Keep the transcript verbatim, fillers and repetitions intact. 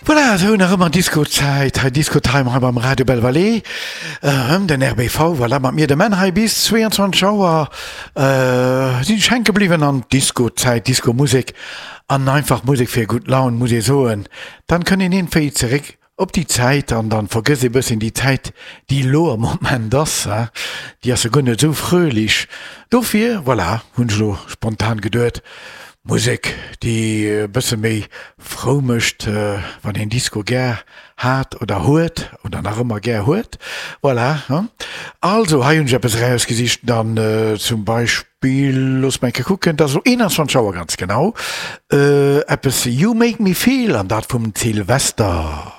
Voilà, esou nach ëmmer Disco-Zäit hei, Disco-Time hei beim Radio Belle Vallée, den RBV, voilà, mat mir de Menn hei bis zwéianzwanzeg Auer. Sinn ech hänke bliwwen an d'Disco-Zäit, Disco-Musek an einfach Musek fir gutt Laun, muss ee soen. Dann kënnt een iergendwéi zeréck op déi Zäit an dann vergësst ee bësschen déi Zäit, déi elo am Moment ass, déi ass jo guer net esou fröhlich. Dofir, voilà, hunn ech elo spontan geduet, Musek, déi e bësse méi frou mécht, wann een Disco gär hat oder huet oder nach ëmmer gär huet. Voilà, hein. Also, hei hunn ech eppes erausgesicht, dann zum Beispill, looss mer eng Kéier kucken, et ass elo eenanzwanzeg Auer ganz genau, eppes You Make Me Feel, an dat vum Sylvester.